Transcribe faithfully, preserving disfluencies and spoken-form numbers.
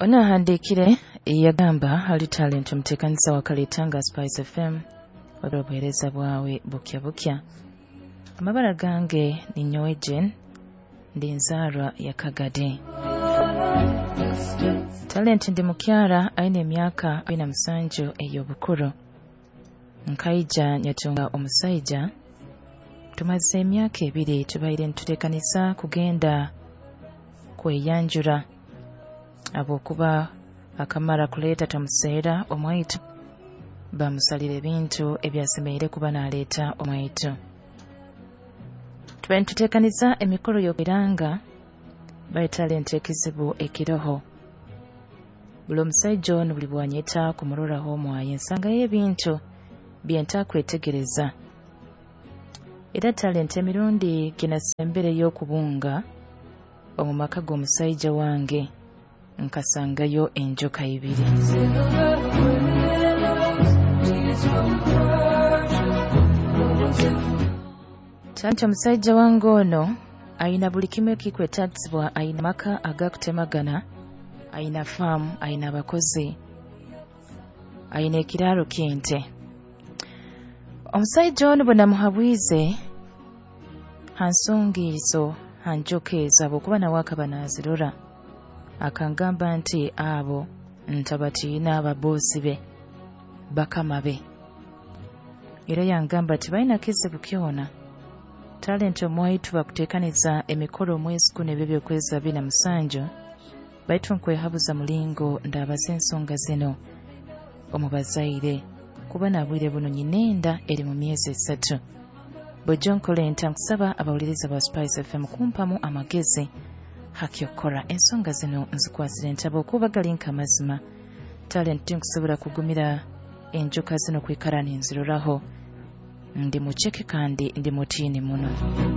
Ono ahandiikire yagamba hali Talent omuteekaniza wa Kaleetanga Spice F M, wabula obuheereza bwawe bukya bukya. Amabara gange ni nyowe Jane, ndi nzaarwa ya Kagadi. Talent, ndi mukyara aine emyaka abiri na musanju ey'obukuru. Nkaija nyatunga omusaija, tumaze emyaka ebiri tubaire nituteekaniza kugenda kweyanjura habwokuba akamara kuleeta tomuseera omwaitu, bamusalira ebintu ebyasemeriire kuba naleeta omwaitu. Tubaire nituteekaniza emikoro y'okweranga, baitu Talent, ekizibu ekiroho, buli omusaija onu buli bwanyeta kumuroraho omwaye, nsangayo ebintu byentakwetegereza. Era Talent, emirundi ginasembereyo okubunga omu maka g'omusaija wange, nkasangayo enjoka ibiri. Talent, omusaija wange ono ayina buli kimu ekikwetagisibwa, ayina amaka agakutemagana, ayina faamu, ayina abakozi, ayina ekiraaro ky'ente. Omusaija onu bwe namuhabwize ha nsonga ezo, ha njoka ezo, habwokuba nawe akaba naazirora, akangamba nti abo ntabatiina, ababoosi be, bakama be. Era yangamba tibalina kizibu kyona. Talent, omwaitu bakuteekaniza emikoro omwezi guno ebyo by'okwezi abiri na musanju, baitu nkwehabuza mulingo ndabaza ensonga zino omu bazaire, kuba nabwire buno nyina enda eri mu myezi esatu. Bwejjo nkole nta? Nkusaba abawuliriza ba Spice F M kumpamu amagezi hakyokukora. Ensonga zino nzikwasire ntaba okuba gali nk'amazima. Talent, tinkusobola kugumira enjoka zino kwikara ninziroraho. Ndi muceke kandi ndi mutiini muno.